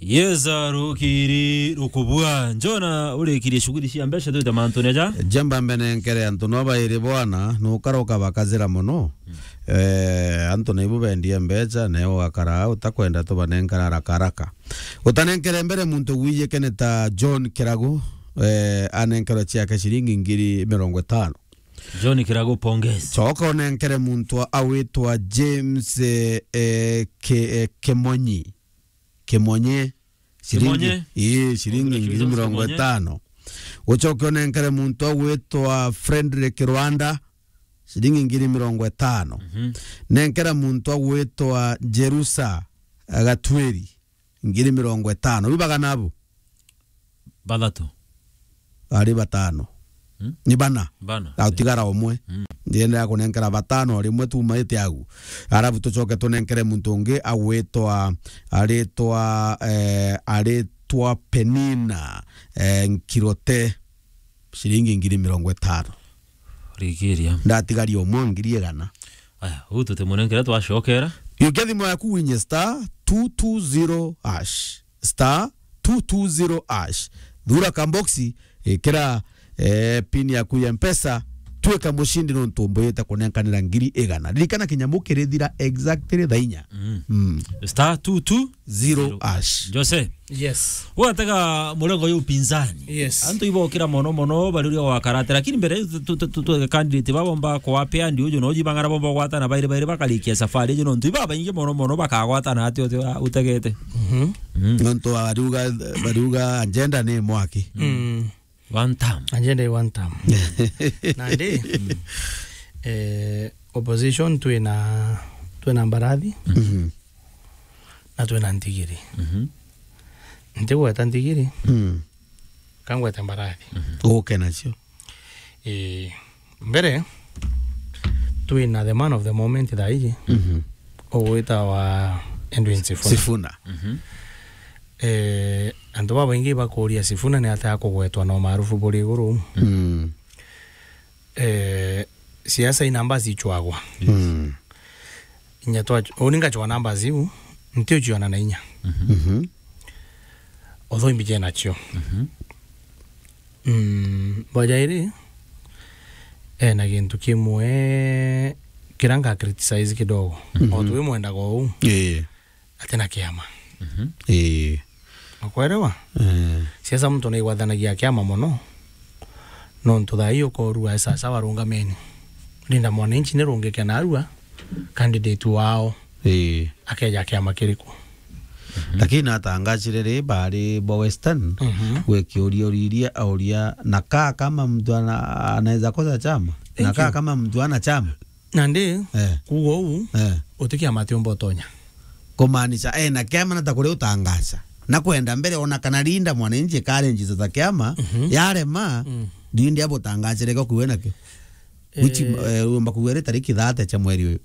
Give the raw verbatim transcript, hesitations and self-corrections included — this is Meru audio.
Yeza rukiri rukubua. Njona urikirie shughuli cia mbeca twite mantu neja. Jamba mbene nkere antu no bairi bwana, nukara ukabakazira mono. Eh, antu naibu bendie mbeca, nayo ugakara utakwenda tubanenkara haraka haraka. Utanenkere mbere muntu gwije kene ta John Kiragu, eh, anenkerwa ciake ciringi ngiri mirongo itano. John Kiragu, pongezi. Coka unenkere muntu awitwa James, eh, eh, Ke-, eh, Kemonyi. Kimonye. Shilingi, Kimonye? Ii, shilingi Kimonye, ngiri mirongo itano. Ucoke unenkere muntu agwitwa Frederick Rwanda, shilingi ngiri mirongo itano. Mhm. Nenkera muntu agwitwa Jerusa Gatweri, ngiri mirongo itano. Bibaga nabo? Bathatu. Ari batano. Hmm? Ni bana. Bana. Na utigara umwe. Hmm. Ndiendelea kunenkera batano, rimwe tumaite au. Arabu tucoke tunenkere muntu ungi agwitwa, aritwa, eh, aritwa Penina, eh, Nkirote, shilingi ngiri mirongo itano. Rigiria. Ndatigaria umwe ngiri igana. Aya, uu tutimunenkere twacokera. Yukia thimu yaku winye star two two zero hash. Star two two zero hash. Thura kamboxi, ikira, eh, pin yaku ya Mpesa, twika mushindi nontu mbuyite kunenkanira ngiri igana. Ririkana kinyamu kirithira exactly thaa inya. Mm. Mm. Star two two zero hash. Jose. Yes. Watega murengo yu upinzani. Yes. Antu ibokira mono mono bari uria wakaratira. Lakini mbere tu, tu, tu, tu, candidate babo mba kwa pia ndi uju no jibangara bomba gwatana bairi bairi bakarikia safari uju nontu iba baingi mono mono bakagwatana ati ati utegete. Mhm. Mm. Nontu bariuga, bariuga agenda ni mwaki. Mm. One term. Agenda i one term. Nandi, eh, opposition twina, twina Mbarathi, mhm, na twina Ntigiri. Mhm. Ntigweta Ntigiri, mm, kangwete Mbarathi. Mhm. Uke nacio. Eh, mbere, twina the man of the moment thaa iji, mhm, ugwitawa Edwin Sifuna. Sifuna. Mhm. Eh, antu babaingi bakuria Sifuna ni atia akugwetwa na umaarufu buri iguru. Mm. Eh, siasa i namba zichwagwa. Mm. Inya twa, uni ngachwa namba ziu, nti uchiona na inya. Mhm. Although imbije nacio. Mhm. Mm, bojairi, ena gintu kimwe kira nga criticize kidogo. Mhm. O twi mwendaga uu. Ii. Atina kiama. Mhm. Ii. Ukwerewa? Eh. Siasa muntu naigwathanagia kiama mono. Nontu thaa ii ukorua sasa warungameni. Linda Mwananchi ni rungike narua candidate wao. Ii. Akeja kiama kiriku? Mhm. Lakini natangachire ri bari bo Western, mhm, gwe kiuria uriria auria, na kaa kama mtu ana-, anaweza kosa chama? Thank you. Na kaa kama mtu ana chama? Nandi, eh, kuuga uu, eh, uti kiama atiumba utonya. Kumaanisha, eh, na kiama nata kuria utangacha. Na kwenda mbere ona kana Linda Mwananchi karenjisa ta kiama, mhm, yarema, mm, ndindi abutangachire ko kuwe nakio. Which, eh, eh, umba kuwe ri tariki thate cha mweri uyu.